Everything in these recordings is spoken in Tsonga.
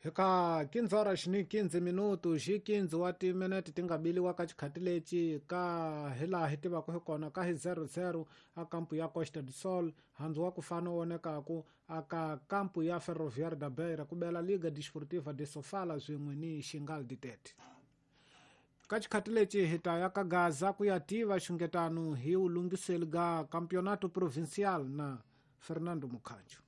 Hika 15 horas ni 15 minuto xi 15 wa timinete ti nga biliwa ka xikhati lexi ka hi laha hi tivaka hi kona ka hi 00 a kampu ya Costa do Sol handzu wa ku fana wonekaku aka kampu ya Ferroviário da Beira ku bela Liga Desportiva de Sofala swin'we ni Xingal de Tete. Ka xikhati lexi hi ta ya ka Gaza ku ya tiva xungetano hi wulungiseli ga Campeonato Provincial na Fernando Mukhanjo.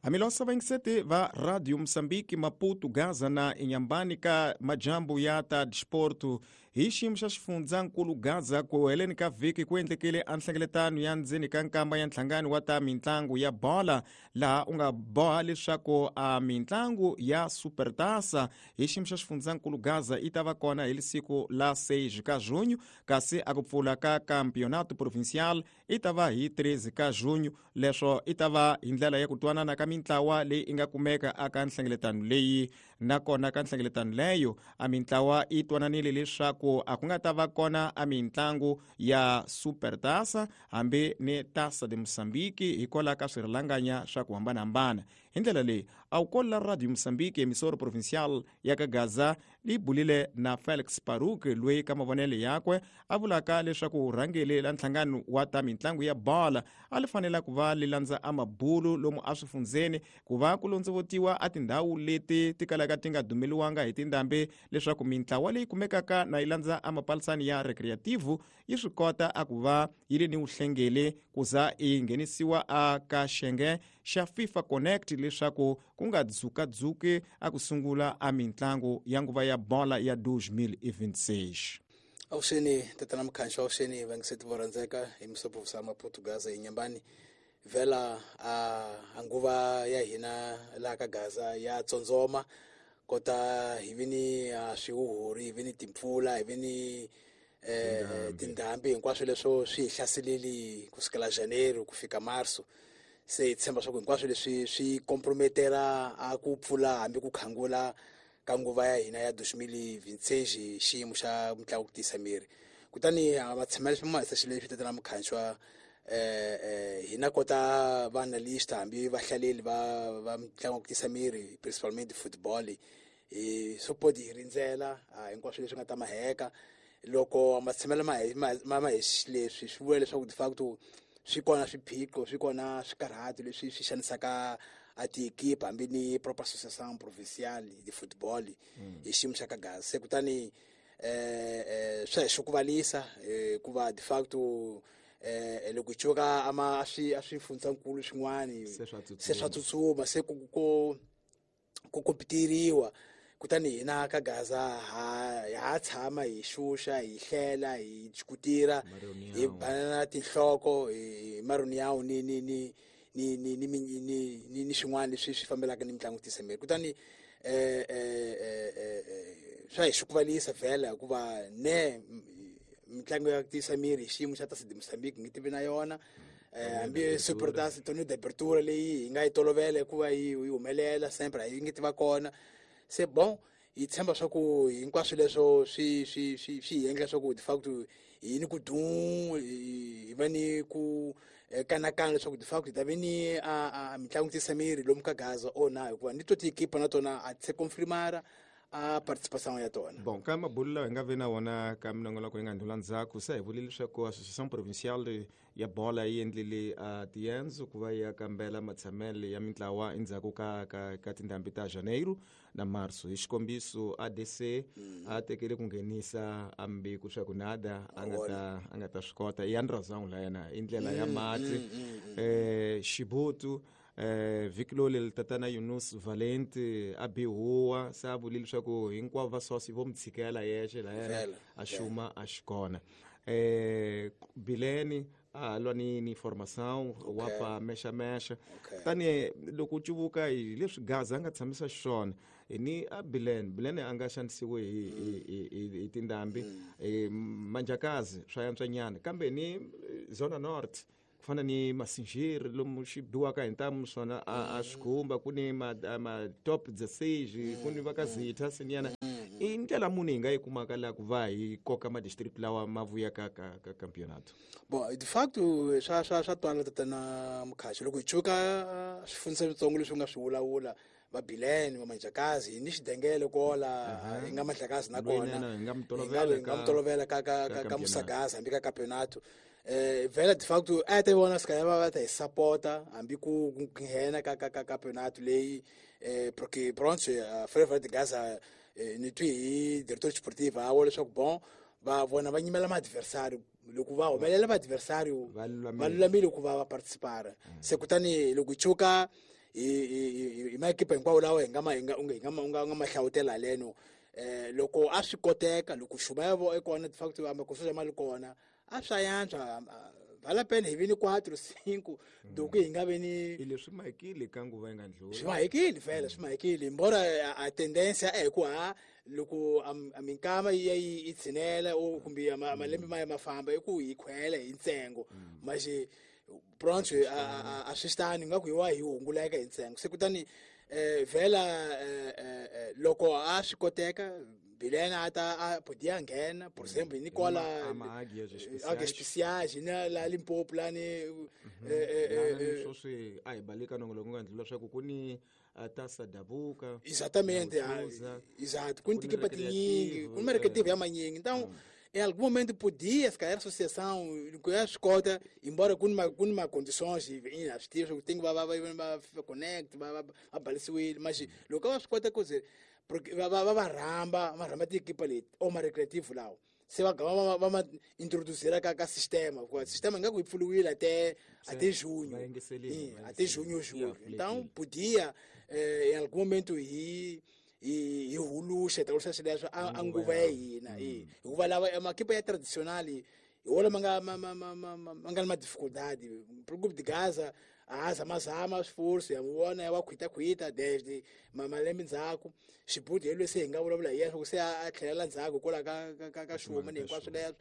Hamilosa vayingiseti va Radio Moçambique, Maputo, Gaza na Inhambane ka majambu ya ta disporto hi xiyimo xa xifundzankulu Gaza ku heleni ka vhiki ku endlekile a nhlengeletano ya ndzeni ka nkamba ya nhlangano wa ta mintlangu ya bola laha u nga boha leswaku a mintlangu ya Supertaça hi xiyimo xa xifundzankulu Gaza yi ta va kona hi siku la 6 ka junho kasi a ku pfula ka Campeonato Provincial i ta va hi 13 ka junho leswo i ta va hi ndlela ya ku twanana ka mintlawa leyi i nga kumeka aka nhlengeletano leyi nakona ka nhlengeletano leyo a mintlawa yi twananile leswaku a ku nga ta va kona a mintlangu ya Supertaça hambi ni Taça de Moçambique hikwalaho ka swirhalanganya swa ku hambanahambana hi ndlela leyi a wu kolela Radio Moçambique emissora provincial ya ka Gaza li bulile na Felix Paruk loyi ka mavonelo yakwe a vulaka leswaku rhangeli la nhlangano wa ta mintlangu ya bola a li fanela ku va li landza a mabulu lomu a swifundzeni ku va ku londzovotiwa a tindhawu leti ti kalaka ti nga dumeliwanga hi tindhambi leswaku mintlawa leyi kumekaka na yi landza a mapalisani ya recreativo yi swi kota a ku va yi ri ni vuhlengeli ku za yi nghenisiwa a ka xenge xa FIFA Connect leswaku ku nga dzukadzuki a ku sungula a mintlangu ya nguva ya bola ya 2026. Avuxeni tatana Mukhanxo, avuxeni vangiseti vo rhandzeka hi misopo Maputo Gaza hi Nyambani. Vhela a nguva ya hina laha ka Gaza ya tsondzoma kota hi vi ni swihuhuri, hi vi ni timpfula, hi vi ni tindhambi, hinkwaswo leswo swi hi hlaseleli kusukela Janeiro ku fika Marso. Se hi tshemba swa ku hinkwaswo leswi swi comprometera a ku pfula hambi ku khangula ka nguva ya hina ya 2026 xiyimo xa mitlangu ku tiyisa miri. Kutani matshamelo ma hisa xilo leswi tatana Mukhanxwa hina kota va analyst hambi vahlaleli va mitlangu ku tiyisa miri principalmente football hi support hi rindzela hinkwaswo leswi nga ta maheka loko matshamelo ma hi leswi swi vula leswaku de facto swi kona swiphiqo swi kona swikarhato leswi swi xanisaka a tiekipa hambi ni proper association provinciale de football hi xiyimo xa ka Gaza. Se kutani swa hi xukuvalisa hikuva de facto loko hi cuka ama a swi a swifundzankulu swin'wani se swa tsutsuma se ku kompeteriwa kutani hina ka Gaza ha tshama hi xuxa hi hlela hi jikutira hi banana tinhloko hi maruniyawu ni ni ni ni ni ni ni ni ni swin'wana leswi swi fambelaka ni mitlangu tisa miri. Kutani swa hi xukuvalisa vhela hikuva ne mitlangu ya tiyisa miri hi xiyimo xa Taça de Moçambique ngi tivi na yona hambi Supertaça Torneio de Abertura leyi hi nga yi tolovela hikuva yi humelela sempre a yi nge tiva kona. Se bon hi tshemba swa ku hinkwaswo leswo swi swi swi swi hi endla swa ku de facto hi ni ku dum hi va ni ku kanakana leswaku de facto hi ta ve ni a mitlangu tiyisa miri lomu ka Gaza or na hikuva ni to tiekipa na tona a ti se confirmara a participation ya tona. Bon ka mabulu lawa hi nga ve na wona ka minongonoko yi nga ndlula ndzhaku se hi vulile leswaku association provinciale ya bola yi endlile a tiendzo ku va ya kambela matshamelo ya mintlawa endzhaku ka tindhambi ta Janeiro na Marso. Hi xikombiso ADC a tekele ku nghenisa ambiku swa ku nada a nga ta swi kota i Andrazang la yena i ndlela ya mati Xibutu vhiki loli tatana Yunus Valenti a bihuwa se a vulile leswaku hinkwavo va sosi vo mi tshikela yexe la yena a xuma a xikona Bileni a lwa ni formação wa pa mexa mexa kutani loko u cuvuka hi leswi Gaza a nga tshamisa xiswona ni a Bileni a nga xanisiwi hi tindhambi Manjakazi swa yantswanyana kambe ni Zona North ku fana ni Masinjiri lomu xi biwaka hi ntamu swona a swi khumba ku ni ma top 16 ku ni va ka Zitha sinyana i ndlela muni hi nga yi kumaka laha ku va hi koka ma-district lawa ma vuyaka ka campeonato? Bon de facto swa twala tatana Mukhaxi loko hi cuka swifundza switsongo leswi u nga swi vulavula. va Bilene va Manjakazi hi ni xidengele kola hi nga Mandlakazi na kona hi nga mutolovela ka Musagaza hambi ka campeonato. Vela de facto a ta vona se va ta hi sapota hambi ku nghena ka campeonato leyi, porque pronto Freire de Gaza ni twi hi diretor sportivo a vula leswaku bon va vona va nyimela ma-adversário, loko va humelela va-adversário va lulamile ku va va participara. Se kutani loko hi chuka hi maekipa hinkwawo lawa hi nga ma hlawutela haleno, loko a swi koteka, loko xuma ya vo kona de facto amakosoja ma li kona, a swa yantswa vala pena hi vi ni 4 5 doku hi nga vi ni leswi mahikile ka nguva yi nga ndlula swi mahikile vhele swi mahikile embora a tendência é ku ha loko a minkama yi ya yi tshinela kumbe malembe ma ya ma famba i ku hi khwela hi ntsengo, mas pronto a swi tani nga ku hi wa hi hunguleka hi ntsengo. Se kutani vhela loko a swi koteka Bilena ata a podia nghena, por exemplo, Nicola Águias Especiais na la Limpopo la ni sweswi a hi baleka nongoloko nga ndlula swa ku ku ni Taça Dabuka. Exatamente, exato, ku ni tikipa tinyingi, ku ni recreativo ya manyingi. Então, em algum momento podia, se calhar a associação, a escota, embora com uma condições inacessíveis, tem que vai connect, vai balisiwile, mas loko a swi kota ku ze porque va rhamba tiekipa leti o ma recreativo lawo se va gama va ma introduzira ka sistema, hikuva sistema nga ku yi pfuriwile até junho, até junho julho. Então podia em algum momento hi huluxa ta huluxa swileswo a nguva ya hina, hikuva lava makipa ya tradicional hi wona ma nga ma nga na dificuldade. Grupo de Gaza a zamazama esforço ya vona ya va khwitakhwita desde malembe ndzhaku xibuti hi lwese hi nga vulavula hi yena se a tlhelela ndzhaku hikwalaho ka xuma ni hinkwaswo leswo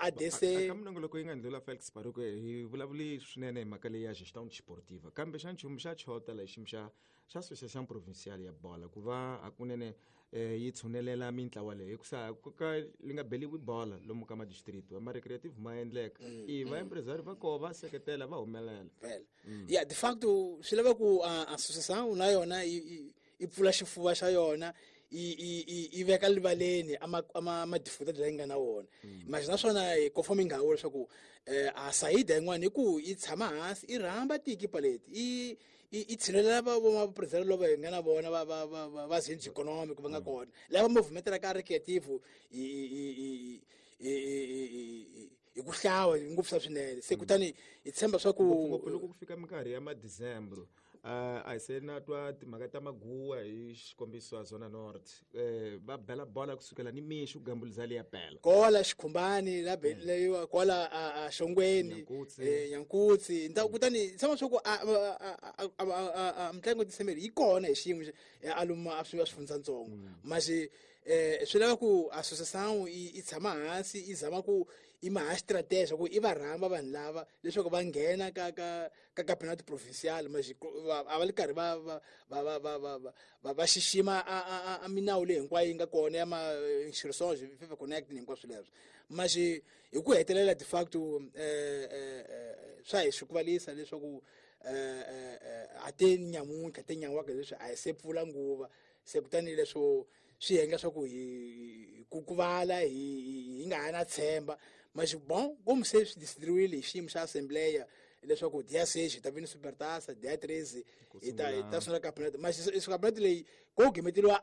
ADC. Ka minongoloko yi nga ndlula Felix Baruke hi vulavuli swinene hi mhaka leyi ya gestão desportiva, kambe xa nchumu xa chota lexi xa association provincial ya bola ku va hakunene yi tshunelela mintlawa leyi hikusa ka li nga beliwi bola lomu ka madistrict ma recreative ma endleka i va empresário va koho va seketela va humelela vhele. Ya de facto swi lava ku association na yona yi pfula xifuva xa yona yi veka rivaleni ama dificuldade leyi nga na wona. Mas naswona hi conforme nga vula leswaku a saída yin'wana i ku yi tshama hansi i rhamba tiekipa leti i tshinelela va presidente lava hi nga na vona va zinzi economic va nga kona lava movimento ka recreativo hi ku hlawa ngopfu swa swinene. Se kutani hi tshemba swa ku ngopfu loko ku fika minkarhi ya ma-December a hi se na twa timhaka ta maguwa hi xikombiso a Zona North va bela bola kusukela ni mixo ku gambuliza leya bela kola xikhumbani la leyiwa kola a Xongweni Nyankutsi. Kutani tshama swa ku a mitlangu December yi kona hi xiyimo a luma a swifundzatsongo, mas swi lava ku association yi tshama hansi yi zama ku i maha strategy ku i va rhamba vanhu lava leswaku va nghena ka campeonato provincial, mas a va li karhi va xixima a minawu leyi hinkwayo yi nga kona ya ma inscriptions FIFA Connect ni hinkwaswo leswo. Mas hi ku hetelela de facto swa hi swi kuvalisa leswaku a te nyamuntlha te nyan'waka leswi a hi se pfula nguva. Se kutani leswo swi endla swa ku hi kukuvala hi nga ha na tshemba. Mas bon como se swi decidiriwile hi xiyimo xa assembleia leswaku dia 6 hi ta vi ni Supertaça, dia 13 hi ta sungula campeonato. Mas campeonato leyi ko gimeteliwa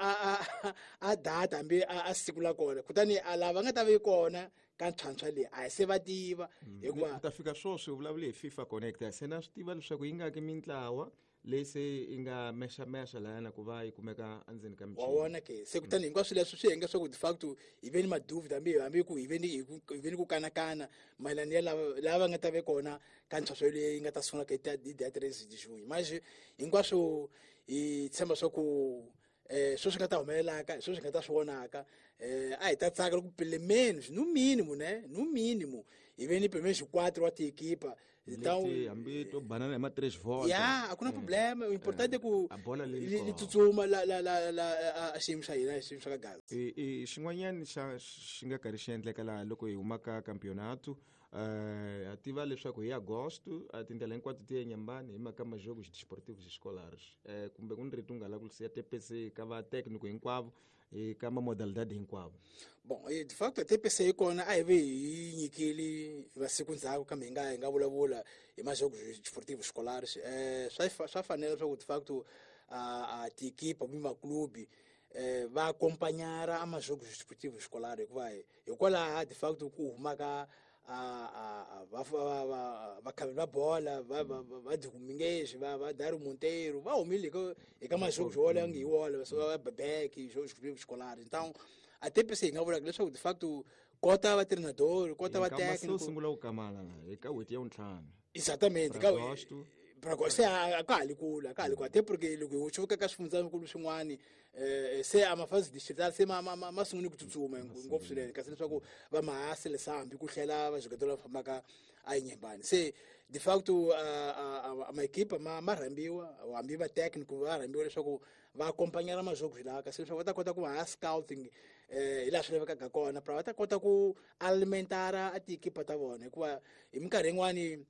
a data hambi a siku la kona, kutani a lava nga ta vi kona ka ntlhantlha leyi a hi se va tiva hikuva ku ta fika sweswi u vulavule hi FIFA Connect, se na swi tiva leswaku yi nga ki mintlawa leyi se yi nga mexamexa layana ku va yi kumeka endzeni ka michini wa wona ke. Se kutani hinkwaswo leswi swi endla swa ku de facto hi ve ni maduvida hambi ku hi ve ni ku kanakana mayelana ya lava nga ta ve kona ka ntlhantlha leyi nga ta sungula ka hi dia 13 de junho. Mas hinkwaswo hi tshemba swa ku swo swi nga ta humelelaka, swo swi nga ta swi vonaka, a hi ta tsaka loko pelo menos no mínimo, né, no mínimo hi ve ni pelo menos 4 wa tiekipa. Então hambi to banana hi ma 3 volta ya a ku na problema. O importante é ku a bola leyi li tsutsuma la a xiyimo xa hina, xiyimo xa ka Gaza. I xin'wanyana xa xi nga karhi xi endleka laha loko hi huma ka campeonato A tiva leswaku hi agosto a tindlela hinkwato ti ya Inhambane hi mhaka majogos desportivos escolares. Kumbe ku ni rito u nga lava ku siya TPC ka va técnico hinkwavo ka ma modalidade hinkwavo. Bon, de facto TPC yi kona, a hi ve hi nyikile masiku ndzhaku, kambe hi nga vulavula hi majogos desportivos escolares. Swa fanela leswaku de facto a tiekipa kumbe maklubi va acompanhar a majogos desportivos escolares, hikuva hikwalaha de facto ku humaka vakhavi va bola va Domingues, va Dario Monteiro, va humile hi ka majogos wolawo nge hi wona, so va Bebek jogos escolares. Então a TPC hi nga vulaka leswaku de facto kota va treinador, kota va técnico sungula ku kamala eka n'hweti ya vuntlhanu. Exatamente. Ka agosto. Se a ka ha li kule, a ka ha li kule, até porque loko hi xuvuka ka swifundzakulu swin'wani, se a mafasi distrital se ma sungule ku tsutsuma ngopfu swinene, kasi leswaku va mahasi hambi ku hlela vajogador lava fambaka a Inhambane. Se de facto a maekipa ma rhambiwa, hambi va técnico va rhambiwa leswaku va acompanhar majogos lawa, kasi leswaku va ta kota ku va ha scouting hi laha swi lavekaka kona, pra va ta kota ku alimentar a tiekipa ta vona, hikuva hi minkarhi yin'wani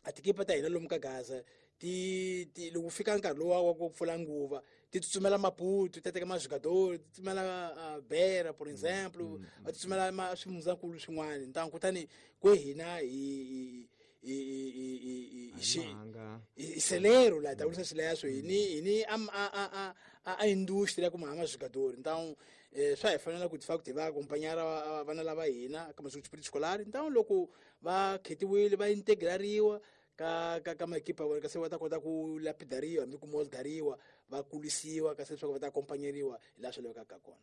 a tikipa ta hina lomu ka Gaza ti loko fika nkarhi lowa wa ku pfula nguva, ti tsutsumela Maputo, ti teka majogador, ti tsutsumela Beira, por exemple, va tsutsumela swifundzakulu swin'wana. Ntangu kutani kwe hina hi celeiro la ta vurisa swileswo, hi ni a industry ya ku maha majogador. Então swa hi fanela ku de facto hi va acompanhar vana lava hina ka masiku escolar. Então loko va khetiwile, va integrariwa ka maekipa vona, kasi va ta kota ku lapidariwa hambi ku moldariwa, va kulisiwa, kasi leswaku va ta acompanheriwa hi laha swi lavekaka kona.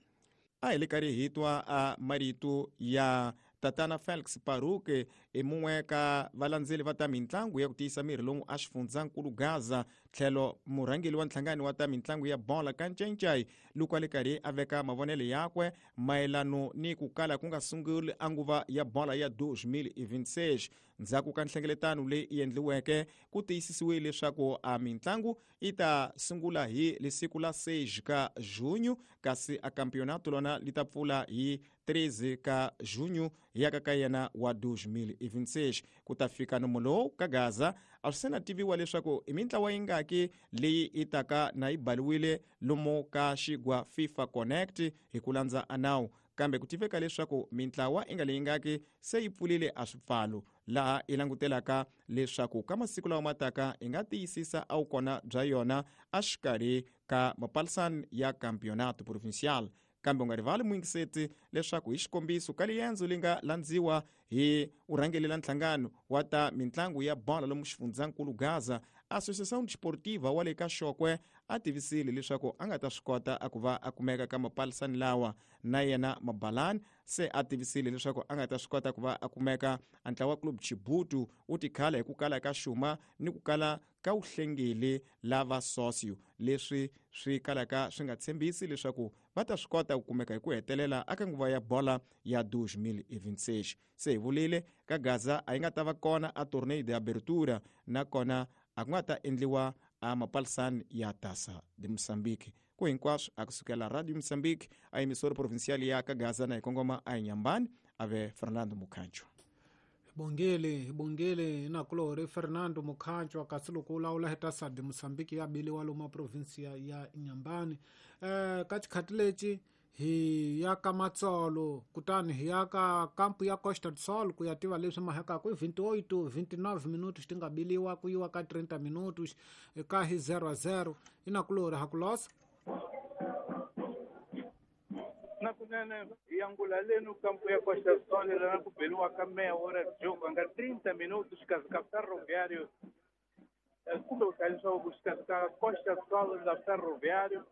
A hi le karhi hi twa a marito ya tatana Felix Paruke, i mun'we ka valandzeli va ta mitlangu ya ku tiyisa miri lomu a xifundzankulu Gaza, tlhelo murhangeli wa nhlangano wa ta mitlangu ya bola ka Ncencai, loko a le karhi a veka mavonelo yakwe mayelano ni ku kala ku nga sunguli a nguva ya bola ya 2026. Ndzhaku ka nhlengeletano leyi endliweke, ku tiyisisiwile leswaku a mitlangu yi ta sungula hi lisiku la 6 ka junho, kasi a campeonato lona li ta pfula hi 13 ka junho yaka ka yena wa 2026. Ku ta fika nomo lowu ka Gaza a swi se na tiviwa leswaku i mintlawa yingaki leyi yi taka na yi baliwile lomu ka xigwa FIFA Connect hi ku landza a nawu, kambe ku tiveka leswaku mintlawa i nga leyi ngaki se yi pfulile a swipfalo, laha yi langutelaka leswaku ka masiku lawa mataka yi nga tiyisisa a wukona bya yona exikarhi ka mapalisani ya campeonato provincial. Kambe u nga rivali, muyingiseti, leswaku hi xikombiso ka liendzo li nga landziwa hi urhangelela nhlangano wa ta mitlangu ya bola lomu xifundzankulu Gaza, Associação Desportiva wa le ka Xokwe, a tivisile leswaku a nga ta swi kota a ku va a kumeka ka mapalisani lawa. Na yena Mabalani se a tivisile leswaku a nga ta swi kota ku va a kumeka. A ntlawa Club Chibutu wu tikhala hi ku kala ka xuma ni ku kala ka wuhlengeli lava socio, leswi swi kalaka swi nga tshembisi leswaku va ta swi kota ku kumeka hi ku hetelela aka nguva ya bola ya 2026. Se hi vulile ka Gaza a yi nga ta va kona a torneio de abertura, nakona a ku nga ta endliwa a mapalisani ya Taça de Moçambique. Ku hinkwaswo a kusukela Radio Moçambique, a emissora provincial ya ka Gaza, na hi kongoma a Inhambane, ave Fernando Mukhancho. Bongele, bongele nakulori Fernando Mukhancho. Kasi loko u lawula hi Taça de Moçambique ya biliwa lomu provinsia ya Inhambane, ka xikhati lexi hi ya ka Matsolo, kutani hi ya ka kampu ya Costa do Sol ku ya tiva leswi mahekaku i 28 29 minutos ti nga biliwa ku yiwa ka 30 minutos ka hi 0 a 0. Inakulori hakulosa. Na kunene yangula lenu kampo ya Costa Sol, lana ku beliwaka meia hora de jogo, anga 30 minutos xikarhi ka Ferroviário, kumbe ku hlaya leswaku xikarhi ka Costa Sol na Ferroviário.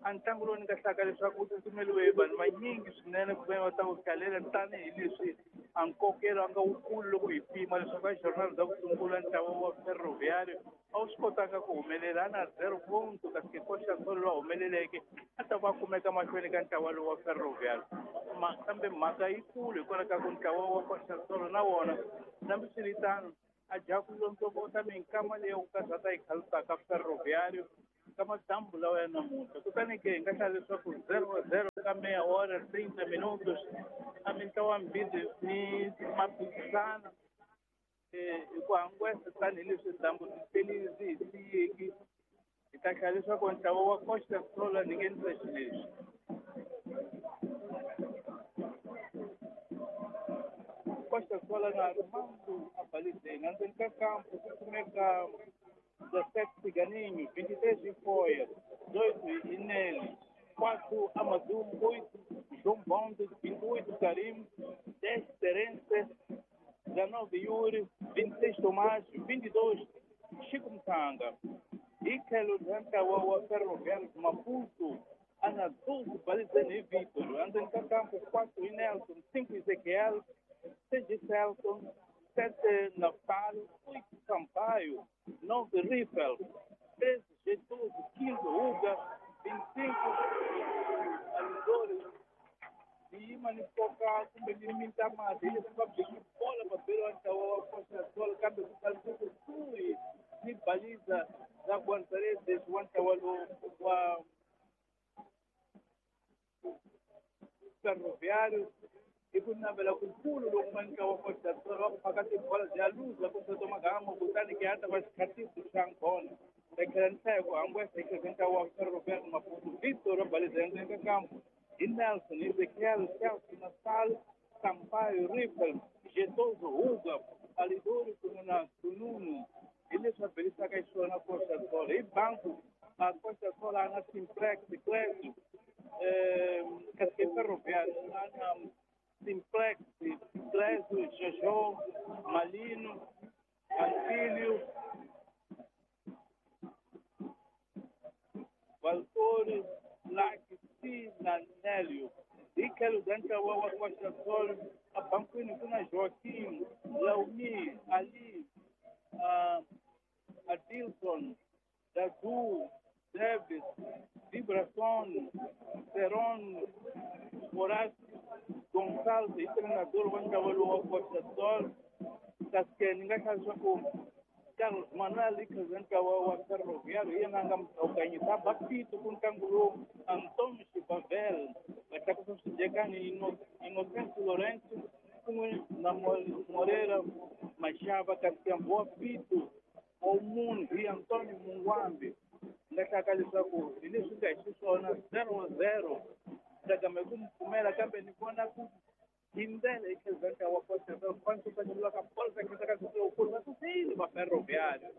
A ntlangu lowu ni nga hlaka leswaku wu tsutsumeliwe hi vanhu vanyingi swinene ku ve va ta wu hlalela, tanihileswi a nkokelo a nga wukulu loko hi pima leswaku a jornal bya ku sungula ntlawa wa Ferroviário a wu swi kotanga ku humelela, a na 0 ponto, kasi ke Costa Sol lowu humeleleke a ta va kumeka mahlweni ka ntlawa lowu wa Ferroviário. Kambe mhaka yikulu hikwalaho ka ku ntlawa wa Costa Sol na wona nambiswiritano a dya ku londzovota minkama leyi ku kaza ta yi khalutaka Ferroviário. Ka madyambu lawa ya namuntlha kutani ke hi nga hlaya leswaku 0-0 ka meia hora 30 minutos a mintlawa mbirhi ni maphikizana hi ku hangwesa tanihileswi dyambu ri hi siyeki hi ta hlaya leswaku ntlawa wa Costa Sol ni nghenisa xileswi Costa Sol na Armando Abalizeni endzeni ka kampo ku kumeka 17 Ciganinho, 23 Foia, 18 Ineli, 4 Amadou, 8 João Bonde, 28 Karim, 10 Terence, 19 Yuri, 26 Tomás, 22 Chico Mtanga. E tlhelo ra ntlawa wa Ferroviário de Maputo, ana 12 Balizeni e Vitor, endzeni ka kampo 4 Nelson, 5 Ezequiel, 6 Celton, 7 Naftali, 8 Sampaio, 9 Riffel, 13 Getúlio, 15 Uga, 25 Alidores, yima ni koka kumbe ni mintamati hileswi va beki bola va beriwa ntlawa wa Costa Sol kambe ku kalise kusuhi ni baliza ra Guarda-redes wa ntlawa lowu wa Ferroviário hi ku navela kukulu loku nga ntlawa wa Costa Sol va ku phaka tibola bya luza ku soto magama kutani ke ya ta va xikhatiso xa ngona ta tlhela ni hlaya ku hangwesa hi tlhelo ka ntlawa wa Ferroviário Maputo Victor wa baliza endzeni ka kampo hi Nelson, Ezequiel, Celso, Nassal, Sampaio, Riffel, Getoso, Huga, Alidori kun'we na Sununu hi leswi va belisaka xiswona Costa Sol hi banku a Costa Sol a na Simplex Clésio kasi Ferroviário a na Simplex Clésio, Jojo, Malino, Antílio, Valtore, Lac, na Nélio. E quero ntlawa wa Costa Sol a bankwini ku na Joaquim, Laumi, Ali, Adilson, Dadu, Davis, Vibrason, Seron, Horácio, Gonçalves, e treinador wa ntlawa lowu wa Costa Sol. Kasi ke ni nga hlaya leswaku Carlos Manuel i ntlawa wa Ferroviário hi yena a nga mukanyisa bapito ku ntlangu lowu Antônio Chibavel va tlakusa swidyekani Inocente Lourenço kun'we na Moreira Machava kasi wa pito wa munhu hi Antônio Mungwambi nga hlaka leswaku hi leswi nga hi xiswona 0-0 tsakama hi ku mi pfumela kambe ni vona ku hi ndlela hi tlhelo ntlawa wa Costa Sol kwantsukanyulwa ka bolo ka khensa ka lowukulu va susile va Ferroviário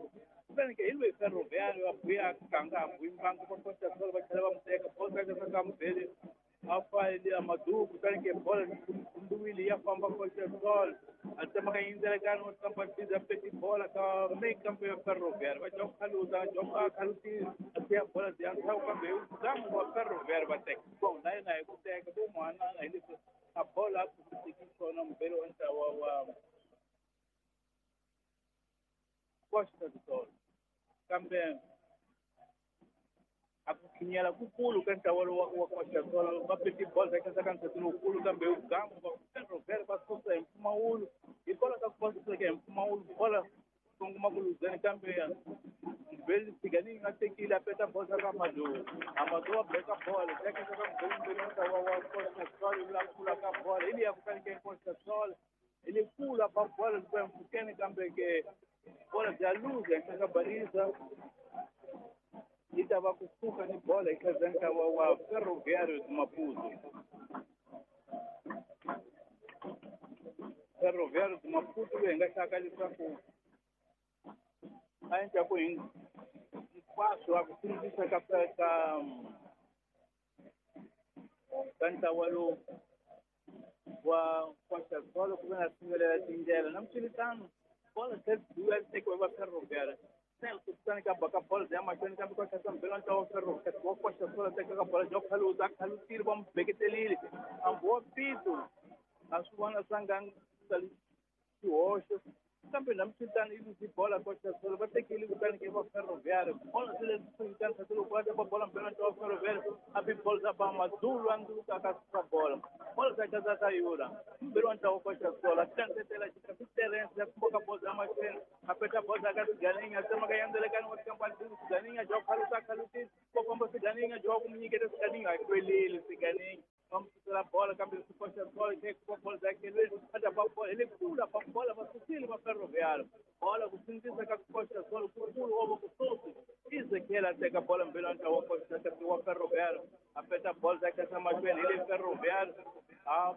kutani ke hi loyi Ferroviário a buya ganga a buyi mbangu va Costa Sol va tlhela va mu teka bolo ka khensa ka mubeli a fayile Amadou kutani ke bolo kumbiwile ya famba Costa Sol a tsemaka yindzelekani wa tamba biza peti bola ka mekampo ya Ferroviário va joka khaluta joka khalutile a siya bola ya ndzhaku kambe hi gamu wa Ferroviário va teka bon na yena hi ku teka vo n'wana hi leswi a bola a ku xona mubeli wa ntlawa wa Costa do Sol kambe a ku khinyela kukulu ka ntlawa lowu wa Costa Sol va peti bola ka ka ntsati lowukulu kambe hi gamu va Ferroviário va susa hi mpfumawulo hikwalaho ka ku va suseke hi mpfumawulo bola kongoma ku luzeni kambe mubeli Siganini nga tekile a peta bola ka Amadou Amadou wa beka bola teka ka mubeli mbeli ntlawa wa Costa Sol la kula ka bola hi liya kutani ke Costa Sol hi le kula ba bola loko ya mpfhukeni kambe ke bola bya luza henhla ka baliza yi ta va kusuka ni bola eka ntlawa wa Ferroviário de Maputo Ferroviário de Maputo loyi hi nga hlaka leswaku a endla ku hinkwaswo a ku sindzisa ka ka ntlawa lowu wa Costa Sol ku ve na sivelela tindlela na mswiritano bola tlhela tekiwa va Ferroviário Celso kutani ka baka bola ya mahlweni kambe ka tlhela mbela ntlawa wa Ferroviário wa Costa Sol teka ka bola jo khaluta a khalutile va mu beketelile hambi wa pito a swi vona swa nga sali xihoxo kambe na mswiritano yi luzi bola Costa Sol va tekile kutani ke va Ferroviário bola se leswi swiritano swa loko va ta bola mbela ntlawa wa Ferroviário a bi bola za ba Mazulu a nduluka ka suka bola bola za kaza ka yura mbela wa ntlawa wa Costa Sol a tlangetela xika Terence ya kumboka bola za mahlweni a peta bola ka Siganinha a tsemaka yandzelekani wa tikampa Siganinha jo khaluta khensa khalutini va famba Siganinga Joao ku n'wi nyiketa Siganinga a kwelile Siganinga va n'wi susela bola kambe swi koxa bola ku bola za khelweni va ta ba bola hi le kula ba bola va susile va Ferroviário bola ku sindzisa ka koxa bola kukulu wa kusuhi Ezekiel a teka bola mbirhi wa ntlawa wa koxa wa Ferroviário a peta bola za khensa mahlweni hi le Ferroviário a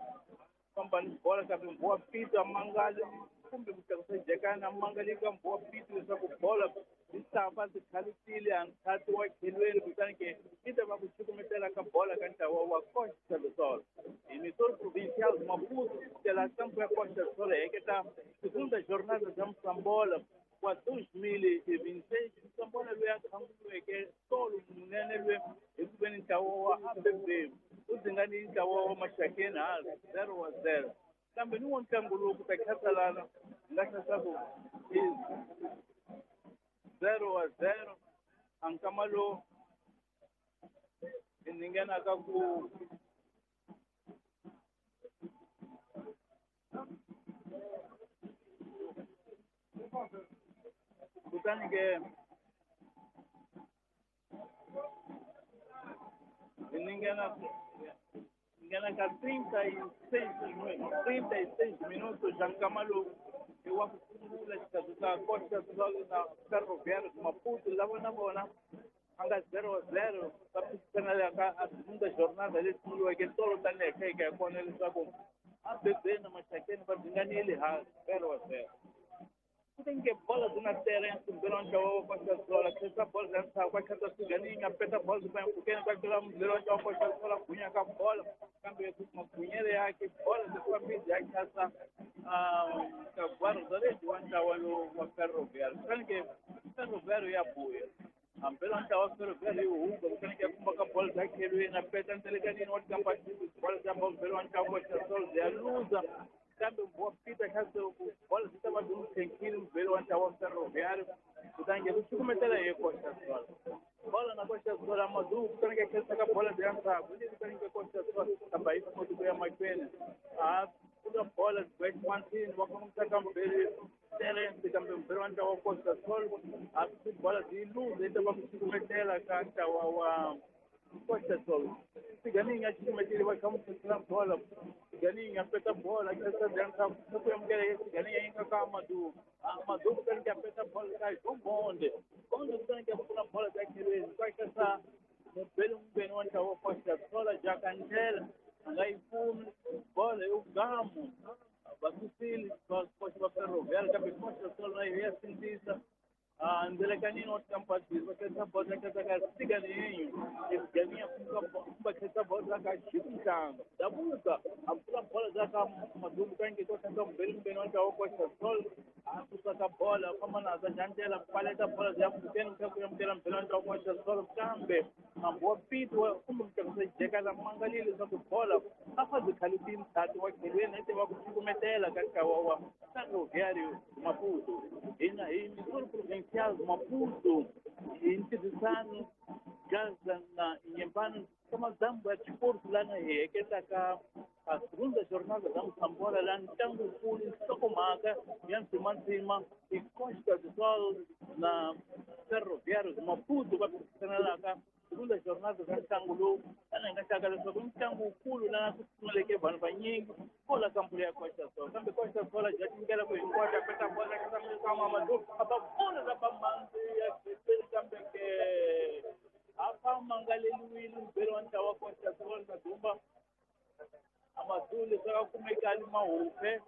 famba ni bola kambe Mbowa Pito a mangali kumbe ku tlakusa jekana a mangali ka Mbowa Pito leswaku bola yi ta va tikhalutile a nkhati wa khelweni kutani ke yi ta va ku cukumetela ka bola ka ntlawa wa Costa do Sol emissor provincial de Maputo pela campo ya Costa do Sol heketa segunda jornada za Moçambola wa 2026 Moçambola loyi a khanguriweke tolo munene loyi hi ku veni ntlawa wa ABB u dzingani ntlawa wa Maxakeni ha 0-0 kambe ni wo ntlangu lowu ku ta khatalana nga hlasaku i 0-0 a nkama lowu hi nghenaka ku kutani ke hi nghena ka 36 minutos ja nkama lowu i wa ku sungula xikarhi ka Costa do Sol na Ferroviário de Maputo lava na vona a nga 0-0 va phikizana ka a segunda jornada leyi sunguriweke tolo tanihi hi kha hi kona leswaku ABB na Maxakeni va dzinganile ha 0-0 kutani ke bola byi na Terence mbirhi wa ntlawa wa Costa do Sol khensa bola bya ndzhaku a khensa Siganinga peta bola byi mpfhukeni ka tlula mbirhi wa ntlawa wa Costa do Sol gunya ka bola kambe magunyele yake bola byi fambile ya khasa ka guarda-redes wa ntlawa lowu wa Ferroviário kutani ke Ferroviário ya buya hambi la ntlawa wa Ferroviário yi hunga kutani ke kumba ka bola bya khelweni a peta ntelekanini wa tikamba bola bya mbirhi wa ntlawa wa Costa do Sol ya luza kambe Mbowa Pito kha bola byi ta va byi n'wi tlhenkile mubeli wa ntlawa wa Ferroviário kutani ke ku cukumetela hi Costa do Sol bola na Costa do Sol Amadou kutani ke khensa ka bola bya ndzhaku leyi kutani ke Costa do Sol kambe a yi koti ku ya mahlweni a pfula bola Martin va kongomisa ka mubeli Terence kambe mubeli wa ntlawa wa Costa do Sol a bola byi luza yi ta va ku cukumetela ka ntlawa wa Costa do Sol Siganinga cukumetile va kha n'wi phasela bola Siganinga peta bola khensa bya ndzhaku ku amukela Siganinga yi nga ka Amadou Amadou kutani ke peta bola ka Bonde Bonde kutani ke pfula bola bya khelweni ka khensa mubeli mumbeni wa ntlawa wa Costa do Sol Jakandlela a nga yi kumi bola yo gamu va susile va koxa va Ferroviário kambe Costa do Sol na yo ya sindzisa ndelekanini wa tikampatiri va khensa bola khensa ka Siganinho Siganinho va khensa bola ka Chico Mhlanga Dabuka a pfula bola za ka Madumbu kange ko khensa mubeli mumbeni wa ntlawa wa Costa do Sol a susa ka bola famba na za Jandela paleta bola ya mpfhukeni kha ku amukela mubeli wa ntlawa wa Costa do Sol kambe Mbowa Pito kumbe mutlakusa jekana mangalile leswaku bola a fa byi khalutini ndzhaku wa khelweni ete va ku cukumetela ka ntlawa wa Ferroviário Maputo hina hi Missouri Provincial Maputo hi ntirhisano Gaza na Inhambane ka madzambu ya xiporto lana hi heketaka a segunda jornada da Moçambola la ntlangunkulu nhlokomhaka ya ndzimandzima i Costa do Sol na Ferroviário de Maputo va phikizanelaka segunda jornada za ntlangu lowu tani hi nga hlaka leswaku i ntlangu wukulu lana ku pfumaleke vanhu vanyingi kola kampulu ya Costa do Sol kambe Costa do Sol ja tingela ku hinkwato a peta bola ka Amadou a ba bola za ba mhandzi ya khelweni kambe ke a fa mangaleliwile mubeli wa ntlawa wa Costa do Sol na Dumba Amadou leswaku a kumeka a li mahupe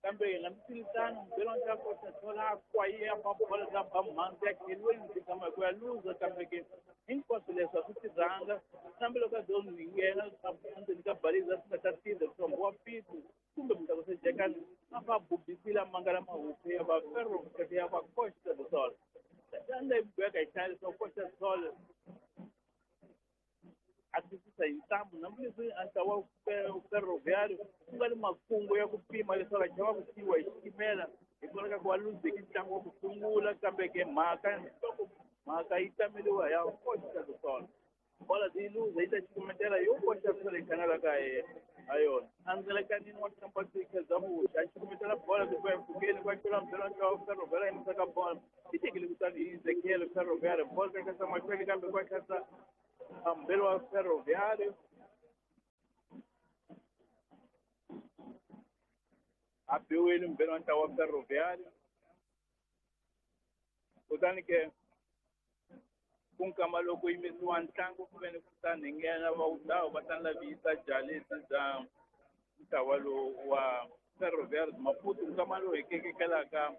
kambe hambiswiritano mubeli wa ntlawa wa Costa do Sol a kwaye a ba bola za ba mhandzi ya khelweni tshama hi ku ya luza kambe ke hinkwaswo leswi a swi tirhanga kambe loko a zo nghena endzeni ka baliza swi nga ta tirha leswaku Mbowa Pito kumbe mutlakusa jekani a fa bubisile a mangala mahupe ya va Ferro ya va Costa do Sol tanda yi boheka hi hlaya leswaku Costa do Sol a twisisa hi ntambu hambileswi a ntlawa wa Ferroviário ku nga ni makungu ya ku pima leswaku a chava ku siyiwa hi xitimela hikwalaho ka ku va luzeke ntlangu wa ku sungula kambe ke mhaka nhloko mhaka yi tameliwa ya Costa do Sol bola byi luza yi ta cukumetela yo Costa do Sol yi khanela ka Ayona andzelekanini wa Champatika Zamuxa a cukumetela bola ku empfhukeni kwa tlula mbhelo ntlawa Ferroviário yimisaka bola yi tekile kutani hi Ezekiel Ferroviário bola ka kasa mahlweni kambe kwa kasa mbhelo wa Ferroviário a biwile mbhelo wa ntlawa wa Ferroviário kutani ke ku nkama loko yimisiwa ntlangu ku ve ni ku ta nghena va wutawu va ta lavisa jalesi bya ntlawa lowu wa Ferroviário Maputo nkama lowu hi kekekelaka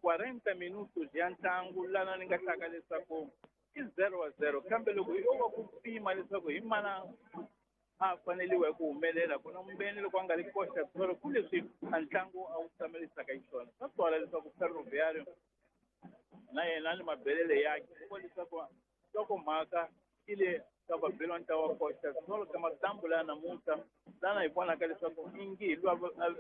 40 minutos ya ntlangu lana ni nga hlaka leswaku i 0-0 kambe loko yo va ku pima leswaku hi mana a faneliwa hi ku humelela ku na mbeni loko a nga ri koxa tolo ku leswi a ntlangu a wu tamelisaka xiswona swa twala leswaku Ferroviário na yena ni mabelele yakhe ku leswaku nhlokomhaka yi le ka vabelwa ntlawa Costa Sol ka matambu laya namuntlha lana hi vonaka leswaku ingi hi lwa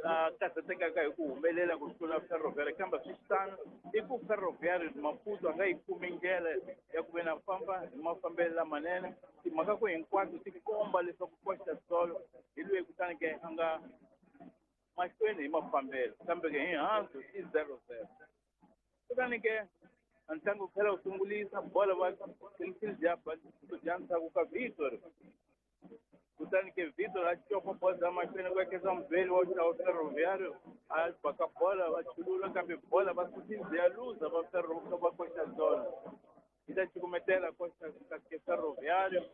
a karhatekaka hi ku humelela ku tlula Ferroviário kambe swi tano i ku Ferroviário Maputo a nga yi kumi ndlela ya ku ve na famba hi mafambelo lamanene timhaka ku hinkwato ti komba leswaku Costa Sol hi lweyi kutani ke a nga mahlweni hi mafambelo kambe ke hi hansi i 0-0 kutani ke ntlangu wu tlhela wu sungulisa bola va bya ndzhaku ka Vitor kutani ke Vitor a copa bola bya mahlweni ku ekesa mubeli wa ntlawa Ferroviário a baka bola va chulula kambe bola va susile ya luza va va Costa Sol yi ta cukumetela Costa ke Ferroviário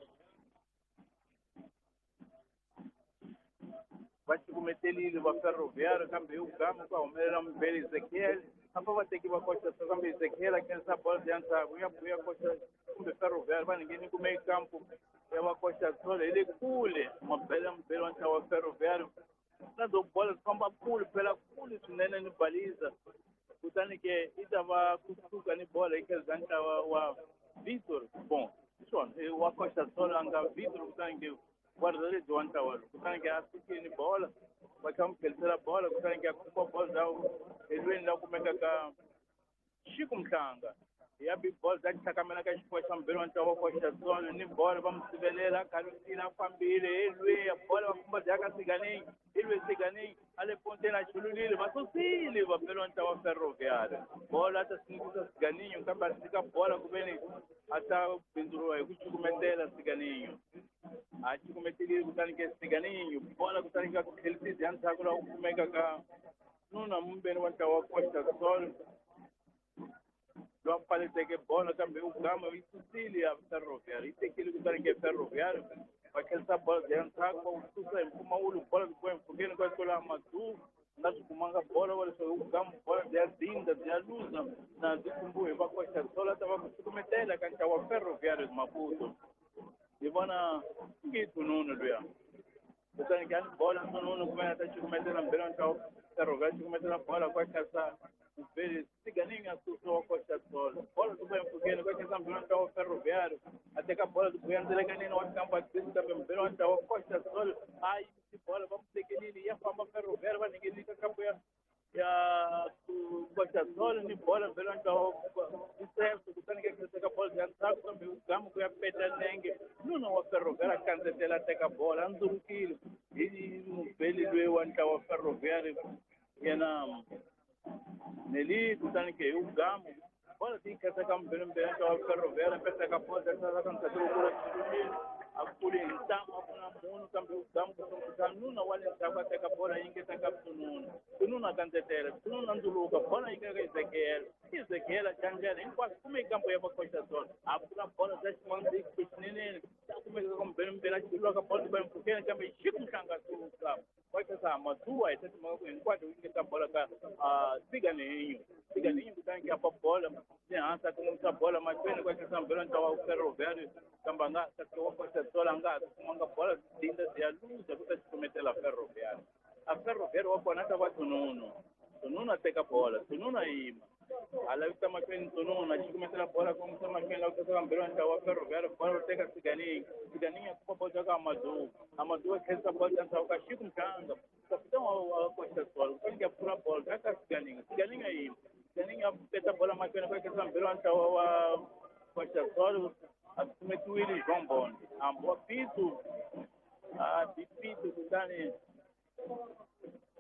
va cukumetelile va Ferroviário kambe hi ugama ku humelela mubeli Ezekiel apa va teki va Costa Sol kambe Ezekiel a khensa bola ya ndzhaku ya buya Costa kumbe Ferroviário va ngheni kume kampu ya va Costa Sol hi le kule mabele mubeli wa ntlawa wa Ferroviário na to bola ti famba kule phela kule swinene ni baliza kutani ke yi ta va kusuka ni bola yi khensa ntlawa wa Vitor bon hi swona wa Costa Sol a nga Vitor kutani ke wa rhelebyi wa ntlawa lowu kutani ke a sukile ni bola va kha mu tlhelisela bola kutani ke a khumba bola bya elweni la kumeka ka Xiku Mhlanga ya big ball bya tlhakamela ka xifuwa xa mubeli wa ntlawa wa Costa Sol ni bola va mu sivelela a khalutile a fambile elweni ya bola va khumba bya ka Siganeng elwe Siganeng a le ponteni a chululile va susile vabeli wa ntlawa wa Ferroviário bola a ta sindzisa Siganinho kambe a tshika bola ku ve ni a ta bindzuriwa hi ku cukumetela Siganinho a cukumetelile kutani ke Siganinho bola kutani ka ku tlhelisisa ya ndzhaku laha ku kumeka ka nuna mumbeni wa ntlawa wa Costa Sol lowa pfaleteke bola kambe ugama yi susile ya Ferroviário yi tekile kutani ke Ferroviário va tlherisa bola bya ndzhaku va wu susa hi mpfumawulo bola byi kuwa empfhukeni kwa tlula Madu nga swi kumanga bola wa leswaku ugama bola bya dinda bya luza na byi khumbiwe hi va Costa Sol a ta va ku cukumetela ka ntlawa wa Ferroviário Maputo hi vona ngi Tununu luya kutani ke a ni bola Tununu kumbe a ta cukumetela mbhelo wa ntlawa Ferroviário cukumetela bola kwa tlherisa mubeli Siganinho a susa wa Costa Sol bola ti empfhukeni kwa khensa mbhelo wa ntlawa wa Ferroviário a teka bola ti buya ndzelekanini wa kampa kambe mbhelo wa ntlawa wa Costa Sol a yimisi bola va mu tekelile ya famba Ferroviário va nghenile ka kampu ya Costa Sol ni bola mbhelo wa ntlawa Isenso kutani ke khensa bola ya ndzhaku kambe ugamu ku ya peta nenge nuna wa Ferroviário a kandzetela a teka bola a ndzurukile hi mubeli loyi wa ntlawa wa Ferroviário yena Neli kutani ke hi ugamu bola ti khensa ka mbhelo mbhelo ntlawa wa Ferroviário petaka bola ka ndzhaku loko a kule hi ntamu a ku na munhu kambe ugamu kusunguta nuna wa le ndzhaku a teka bola yi ngeta ka Tununu Tununu a kandzetela Tununu a ndzuluka bola yi ka Ezekiel Ezekiel a cangela hinkwaswo kume kampo ya va Costa Sol a pfula bola bya ximandziki xinenene ta kumeka ka mbhelo mbhelo a chulula ka bola ba empfhukeni kambe Xiku Mhlanga suka wa khensa Maduwa hi ta timhaka ku hinkwato yi ngeta bola ka Siganinho Siganinho kutani ke a pa bola le hansi a kongomisa bola mahlweni kwa khensa mbhelo ntlawa wa Ferroviário kambe a nga kasi wa Costa Sol a nga ha kumanga bola dinda ya luza ku ta cukumetela Ferroviário a Ferroviário wa kona a ta va Tununu Tununu a teka bola Tununu a yima a lavisa mahlweni Tununu a cukumetela bola kongomisa mahlweni la ku teka mbhelo ntlawa wa Ferroviário bola u teka Siganinho Siganinho a kuma bola ka Amadu Amadu a khensa bola ndzhaku ka Xiku Mhlanga kapitão wa Costa Sol kutani ke a pfula bola ka Siganinho Siganinho a yima Siganinho a peta bola mahlweni ku khensa mbhelo ntlawa wa Costa Sol a tsumetiwile João Bonde hambi wa Pito A bipito kutani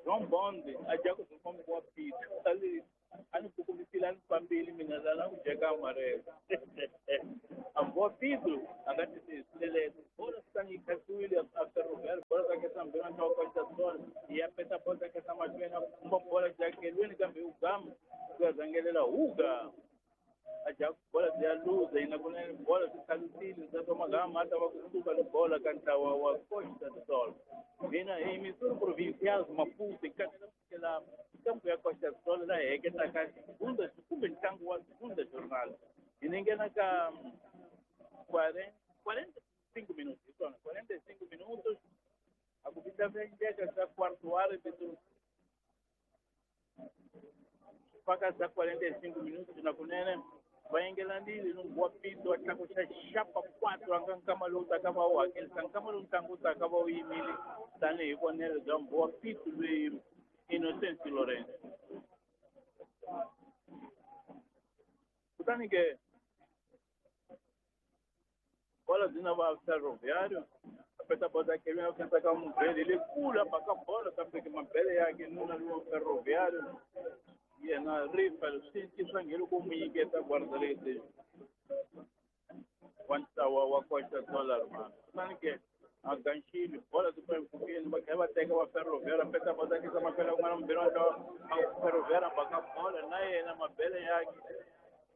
João Bond a dya ku famba wa pito ali a ni kukumisile a ni fambile mina la ku dyeka amarelo a boa Pedro a nga tisilelete bola kutani yi khasiwile a Ferroviário bola ka kesa mbirhi na Costa Sol ya peta bola ka kesa mahlweni a kumba bola jakelweni kambe u gama ku ya zangelela huga a dya bola bya luza yina kunene bola swi khalusile ntsako magama a ta va kusuka ni bola ka ntlawa wa Costa Sol mina hi Missouri Provincial Maputo kanela kusukela kampu ya Costa Sol la heketaka segunda kumbe ntlangu wa segunda jornal hi ni nghena ka 45 minutos hi swona 45 minutos a ku vita vendeka ka quarto árbitro mpaka za 45 minutos na kunene va yengelanile no wa pito wa tlakuxa xapa 4 anga nkama lowu taka va wu hakelisa nkama lowu ntlangu wu taka va wu yimile tanihi vonelo bya Mbowa Pito loyi Innocent Lawrence kutani ke bola byi na va Ferroviário apeta bola kelweni a khensa ka mubele lekulu a baka bola kambe ke mabele yake nuna lowa Ferroviário yena rifa swi swa ngelo ku mu nyiketa guarda-redes wa ntlawa wa Costa Sol Armando kutani ke a ganxile bola ti mpfhukeni va kha va teka va Ferroviário peta bola kisa mafela kun'wana mubele wa ntlawa Ferroviário baka bola na yena mabele yake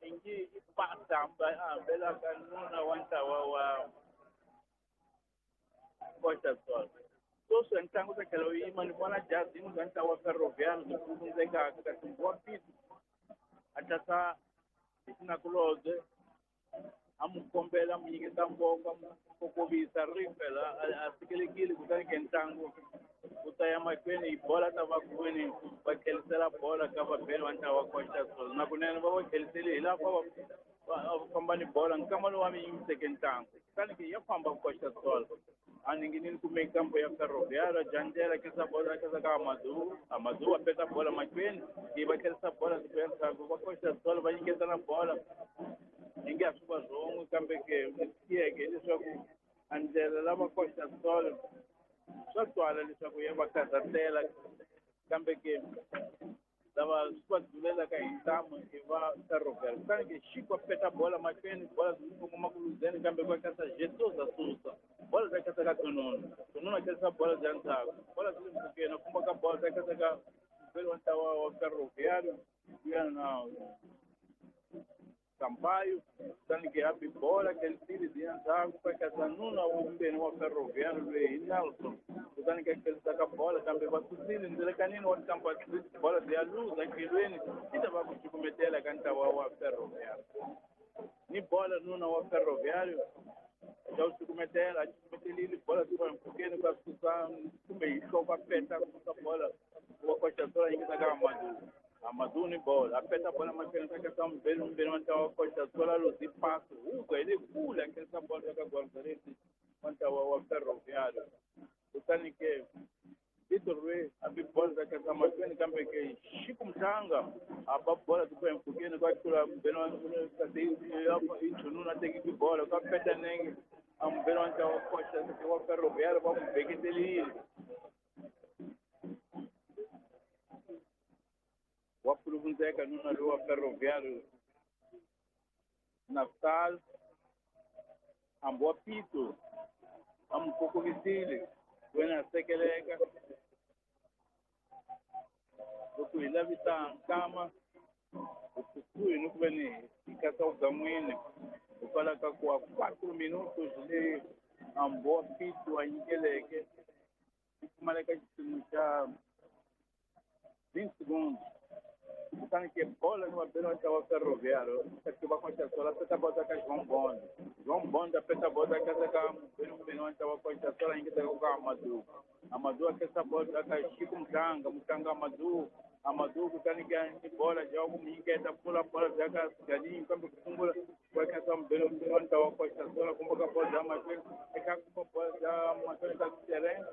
ingi i pasa a hambelaka nuna wa ntlawa wa Costa Sol sweswi ntlangu ta tlhela wu yima ni vona jazi yin'we bya ntlawa wa Ferroviário byi pfulundzekaka kasi Mbowa Pito a tlasa hi xinakulobye a mu kombela a mu nyiketa nkoka a mu kokovisa rifela a sikelekile kutani ke ntlangu wu ta ya mahlweni hi bola ta va kwini va tlhelisela bola ka vabeli va ntlawa wa Costa Sol na kunene va va tlhelisele hi laha va famba ni bola nkama lowu wa mi yimiseke ntlangu kutani ke ya famba Costa Sol a ninginini kume kampo ya Ferroviário jandlela kesa bola kesa ka Amadou Amadou a peta bola mahlweni yi va tlherisa bola siku ya ndzhaku va Costa Sol va nyiketana bola yi nge ha swi va wrong kambe ke tiyeke hileswaku a ndlela lava Costa Sol swa twala leswaku ya va karhatela kambe ke lava swi va dulelaka hi ntamu i va Ferroviário kutani ke Chico a peta bola mahlweni bola byi kongoma ku luzeni kambe ku kasa Jesus a susa bola bya kasa ka Tonono Tonono a kasa bola bya ndzhaku bola byi le mpfhukeni a famba ka bola bya kasa ka mbele wa ntlawa wa Ferroviário ya na Sampaio kutani ke a bi bola tlhelisile byi ya ndzhaku ka kasa nuna wa vumbeni wa Ferroviário loyi hi Nelson kutani ke tlherisa ka bola kambe va susile ndzelekanini wa kampa bola byi ya luza tlhelweni yi ta va ku cukumetela ka ntlawa wa Ferroviário ni bola nuna wa Ferroviário ya wu cukumetela a cukumetelile bola byi va mpfhukeni ka susa kumbe hi nhloko a peta ku susa bola wa Costa Sol a nyiketa ka Amadou Amadou ni bola a peta bola mahlweni ka kasa mbirhi mbirhi wa ntlawa wa Costa Sol a luzi pasi huga hi le kule a khensa bola ka guarda-redes wa ntlawa wa Ferroviário kutani ke Vitor Rui a bi bola ka kasa mahlweni kambe ke Chico Mhlanga a ba bola ti ku empfhukeni ka tlula mbirhi wa kasi i Chununu a tekiki bola ka peta nenge a mbirhi wa ntlawa wa Costa wa Ferroviário va n'wi beketelile wa pfuluvundzeka nuna lowu wa Ferroviário Naftal hambi wa Pito a mu kokovisile wena a sekeleka loko hi lavisa nkama hi kusuhi ni ku ve ni hi kasa vugan'wini hikwalaho ka ku a 4 minutos leyi hambi wa Pito a nyikeleke yi pfumaleka xipimo xa 20 segundos kutani ke bola ni vabeli va ntlawa wa Ferroviário kasi va Costa Sol a peta bola ka João Bond João Bond a peta bola kasa ka mubeli mubeli wa ntlawa wa Costa Sol a nyiketaka ka Amadou Amadou a kesa bola ka Chico Mhlanga Mhlanga Amadou Amadou kutani ke ni bola ja ku mu nyiketa pfula bola bya ka Galinho kambe ku sungula wa kasa mubeli mubeli wa ntlawa wa Costa Sol a kumba ka bola bya mahlweni eka kumba bola bya mahlweni ka terrain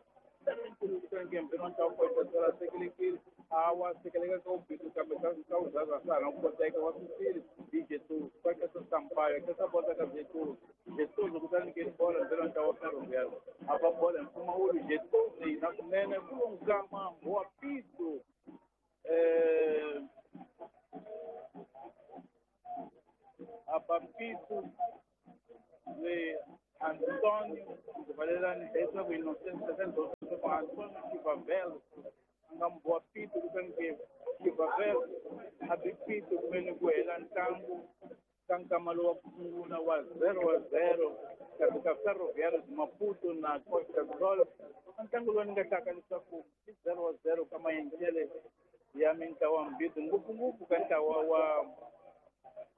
kutani ke mbirhi wa ntlawa wa Costa Sol a sekelekile a wa sekeleka ka ubhitu kambe ka uzaza swa ha na ku koteka wa susile hi Jesus va kasa Sampaio a kasa bola ka Jesus Jesus kutani Kutani ke bola ndzela ntlawa wa Ferroviário a va bola mpfumawulo Getoni na kunene ku nkama wa pito Abapito de Antônio Valeriano leswaku Innocente com Antônio Chivavelo a nga mbowa pito kutani ke Chivavelo a bi pito kumene ku hela ntlangu ka nkama lowu wa ku sungula wa 0-0 xikarhi ka Ferroviário de Maputo na Costa do Sol. Ntlangu lowu ni nga hlaka leswaku i 0-0 ka maendlele ya mintlawa mbirhi, ngopfungopfu ka ntlawa wa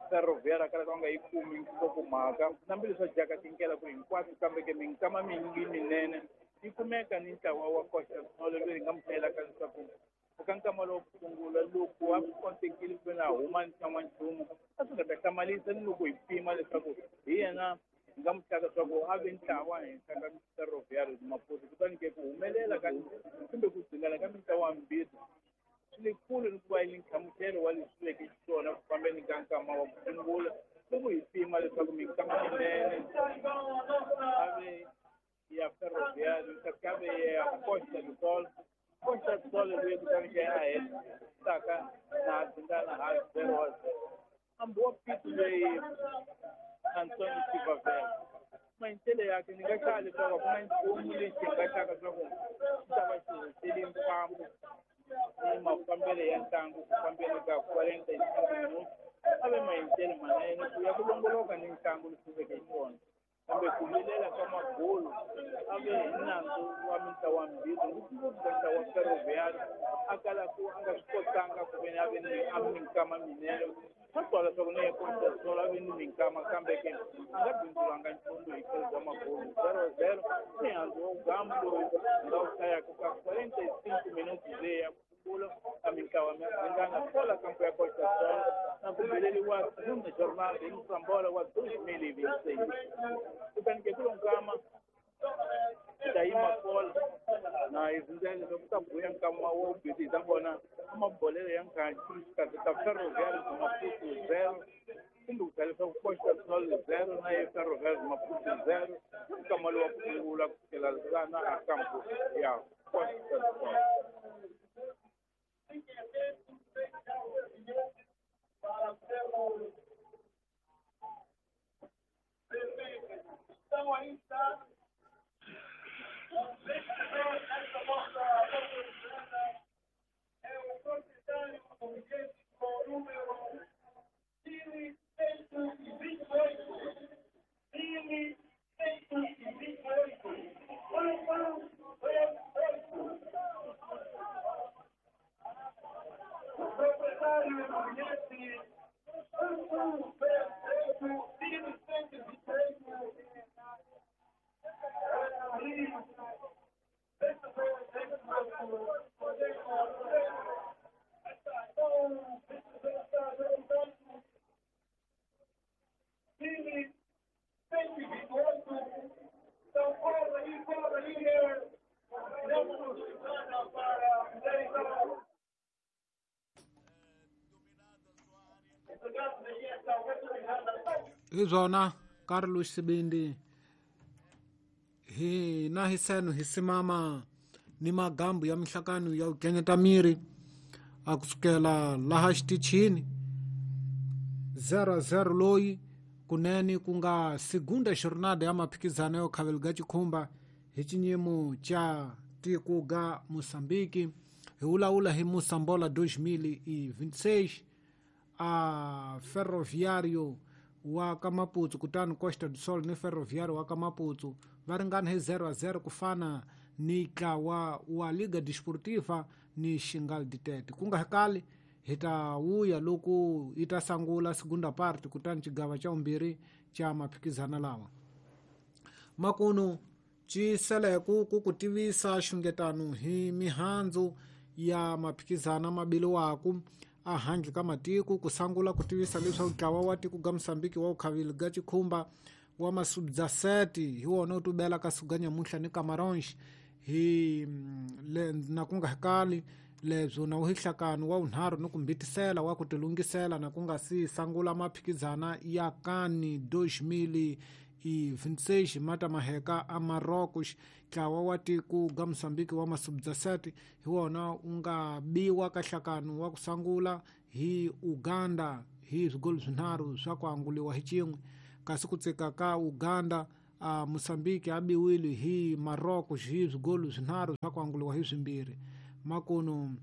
Ferroviário kala ka nga yi kumi nhlokomhaka hambileswi dyaka tinkela ku hinkwato, kambe ke minkama mingi minene yi kumeka ni ntlawa wa Costa do Sol loyi hi nga mu hlayelaka leswaku eka nkama lowu ku sungula loko a swi kotekile ku ve na huma nxan'wanchumu a swi nga ta hlamarisa ni loko hi pima leswaku hi yena hi nga mu hlaka leswaku a ve ntlawa henhla ka Ferroviário de Maputo. Kutani ke ku humelela ka kumbe ku dzingana ka mintlawa mbirhi swi le kule ni ku va yi nhlamuselo wa leswi veke xiswona ku fambeni ka nkama wa ku sungula loko hi pima leswaku minkama minene a ve ya Ferroviário kasi a ve ya Costa do Sol. Costa do Sol loyi kutani ke a hetaka na dzingana ha 0-0 hambi wa pito leyi Antônio Chivavelo maendlele yakhe ni nga hlaya leswaku a ku na nchumu lexi hi nga hlaka leswaku xi ta va xi hoxele mfambo ni mafambele ya ntlangu ku fambeni ka 45 minutos a ve maendlele manene ku ya ku longoloka ni ntlangu leswi veke xiswona, kambe ku vilela ka magolo a ve hi nandzu wa mintlawa mbirhi, ngopfungopfu ka ntlawa wa Ferroviário a kala ku a nga swi kotanga ku ve ni a ve ni a minkama minene. Swa twala leswaku ni ya Costa do Sol a ve ni minkama, kambe ke a nga bindzulanga nchumu hi tlhelo bya magolo 0-0 mihandzu wa gamu lowu nga wu hlayaka ka 45 minutos leyi ya ku sungula ka mintlawa mingana kwala kampo ya Costa do Sol na ku beleliwa segunda jornada em Moçambola wa 2026. Kutani ke kulo nkama ta yima kola na hi rindzela leswaku ta buya nkama wo bizi hi ta vona mabolelo ya nkarhi xikarhi ka Ferroviário de Maputo 0 kumbe ku tlhela leswaku Costa do Sol 0 na ye Ferroviário de Maputo 0 nkama lowu wa ku sungula ku fikela lana a kampo ya Costa do Sol. Então aí está o vencedor desta nossa oportunidade é o proprietário do bilhete com o número 1128. 1128. 1128. O proprietário do bilhete 1128 1128. Hi byona Carlos Sibindi hina hi seno hi simama ni magambu ya mihlakano ya ku kenyeta miri a kusukela laha xitichini 0-0 loyi kunene ku nga segunda jornada ya maphikizano yo khaveliga chikhumba hi xinyimo xa tiko ga Moçambique. Hi vulavula hi Moçambola 2026 a Ferroviário wa ka Maputo kutani Costa do Sol ni Ferroviário wa ka Maputo va ringana hi 0-0 ku fana ni ntlawa wa Liga Desportiva ni Xingal Ditete. Ku nga kali hi ta wuya loko yi ta sangula segunda parte kutani xigava xa vumbirhi xa maphikizano lawa. Makunu ci seleku ku ku tivisa xungetano hi mihandzu ya maphikizano mabiliwaku a handle ka matiko ku sangula ku tivisa leswaku ntlawa wa tiko ga Moçambique wa ukhavili ga chikhumba wa masubzaseti hi wona wu tubela ka suga nyamuhla ni Camarões hi na ku nga kali lebyo na uhihlakano wa unharhu ni kumbitisela wa ku tilungisela na ku nga si sangula maphikizana ya kani 2026 ma ta maheka a Marrocos. Ntlawa wa tiko ga Mozambique wa masubu 17 hi wona wu nga biwa ka nhlakano wa ku sungula hi Uganda hi swigolo swinharhu swa ku anguliwa hi xin'we, kasi ku tsika ka Uganda a Mozambique a biwile hi Marrocos hi swigolo swinharhu swa ku anguliwa hi swimbirhi. Makuno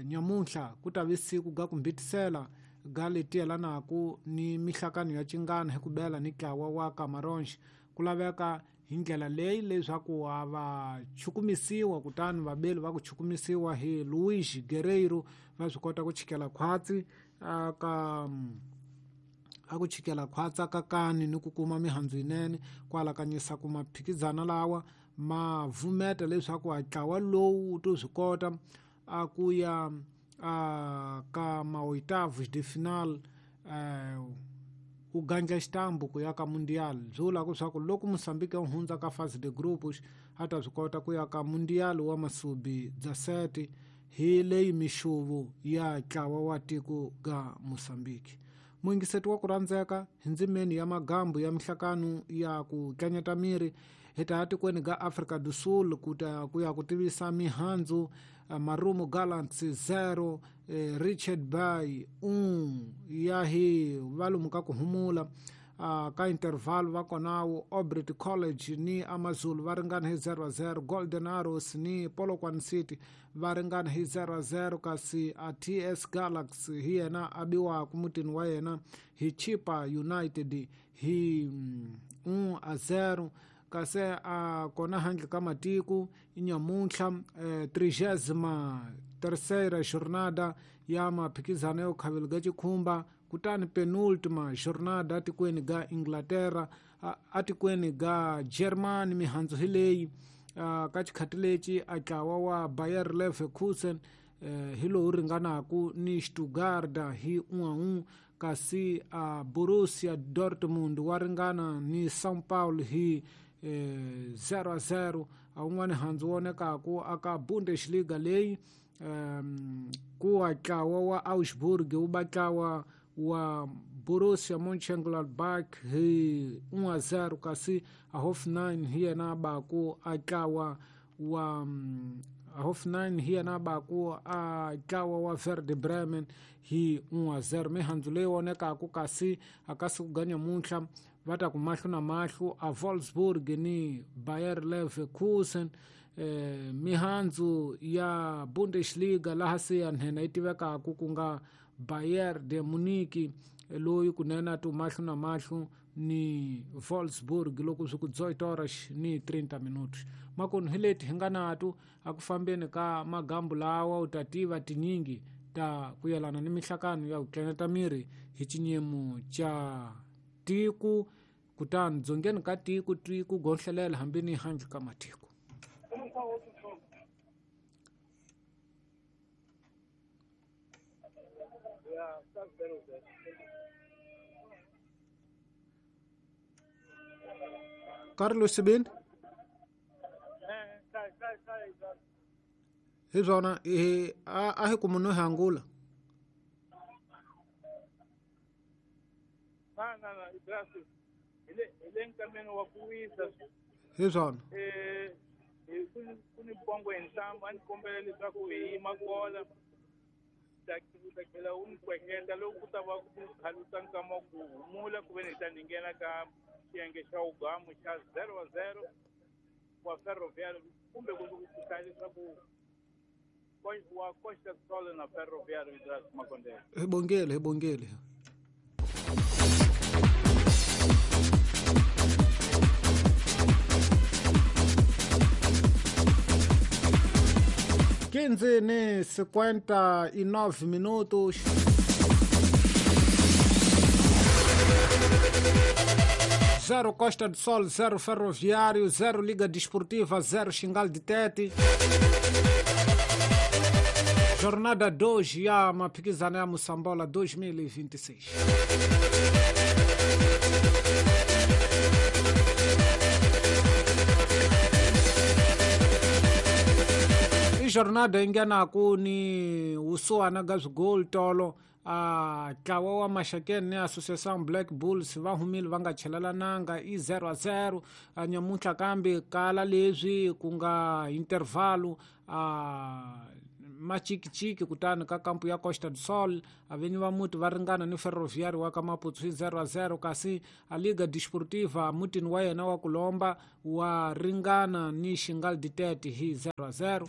nyamuntlha ku ta vi siku ga ku mbitisela ga leti yelanaka ni mihlakano ya cingana hi ku bela ni ntlawa wa Camarões. Ku laveka hi ndlela leyi leswaku a va chukumisiwa, kutani vabeli va ku chukumisiwa hi Luis Guerreiro va swi kota ku chikela khwatsi aka a ku chikela khwatsi aka kani ni ku kuma mihandzu yinene. Ku alakanyisa ku maphikizana lawa ma vumeta leswaku a ntlawa lowu wu to swi kota a ku ya a ka ma-oitavos de final, u gandla xitambu ku ya ka Mundial. Byi vula leswaku loko Mozambique ya hundza ka fase de grupos a ta swi kota ku ya ka Mundial wa masubi 17 hi leyi mixuvu ya ntlawa wa tiko ga Mozambique. Muyingiseti wa ku rhandzeka, hi ndzimeni ya magambu ya mihlakano ya ku tlanyeta miri hi ta ya tikweni ga Afrika do Sul ku ta ku ya ku tivisa mihandzu. Marumo Gallants 0, Richard Bay 1 ya hi valomu ka ku humula ka interval va konawo Obrit College ni Amazulu va ringana hi 0-0, Golden Arrows ni Polokwane City va ringana hi 0-0, kasi a TS Galaxy hi yena a biwaka mutini wa yena hi Chipa United hi 1-0. Kasi a kona handle ka matiko nyamuntlha 33ª jornada ya maphikizano yo khavelo ga xikhumba, kutani penultima jornada atikweni ga Inglaterra, atikweni ga Germany. Mihandzu hi leyi ka xikhati lexi a ntlawa wa Bayer Leverkusen hi lowu ringanaku ni Stuttgart hi 1-1, kasi a Borussia Dortmund wa ringana ni São Paulo hi 0-0. A wun'wani handzu wonekaku aka Bundesliga leyi ku wa ntlawa wa Augsburg wu ba ntlawa wa Borussia Mönchengladbach hi 1-0, kasi a Hoffenheim hi yena baku a ntlawa wa Hoffenheim hi yena baku a ntlawa wa Werder Bremen hi 1-0. Mihandzu leyi vonekaku kasi akasi ku ga nyamuntlha va ta ku mahlo na mahlo a Wolfsburg ni Bayer Leverkusen. Mihandzu ya Bundesliga laha se ya nhenha yi tivekaku ku nga Bayern de Munich loyi kunene a ti mahlo na mahlo ni Wolfsburg loko swi ku 18 horas ni 30 minutos. Makunu hi leti hi nga nato a ku fambeni ka magambu lawa u ta tiva tinyingi ta ku yelana ni mihlakano ya ku tleneta miri hi xinyemu xa tiko, kutani dzongeni ka tiko tiko gohlelela hambi ni handle ka matiko. Carlos Sibini hi swona a hi ku munhu hi angula hi le nkameni wa ku wisa hi swona. Ku ni pongo hi ntambu, a ni kombela leswaku hi yima kola ta tlhela u ni kweketa loko ku ta va ku khalusa nkama ku humula ku ve ni hi ta ni nghena ka xiyenge xa ugamu xa 0-0 wa Ferroviário kumbe ku hlaya leswaku wa Costa Sol na Ferroviário Idras Makondele. Hi bongele, hi bongele. Quinze ni 59 minutos. 0 Costa do Sol, 0 Ferroviário, 0 Liga Desportiva, 0 Xingal de Tete. Jornada 2 ya maphikizano ya Moçambola 2026. I jornada yi nghenaku ni wusuwana ga swigoli tolo A ntlawa wa Maxakeni ni Association Black Bulls va humile va nga chelelananga i 0-0. Nyamuntlha kambe kala leswi ku nga intervalo a machikichiki, kutani ka kampu ya Costa do Sol avenyi va muti va ringana ni Ferroviário wa ka Maputo hi 0-0, kasi a Liga Desportiva mutini wa yena wa ku lomba wa ringana ni Xingal Ditete hi 0-0.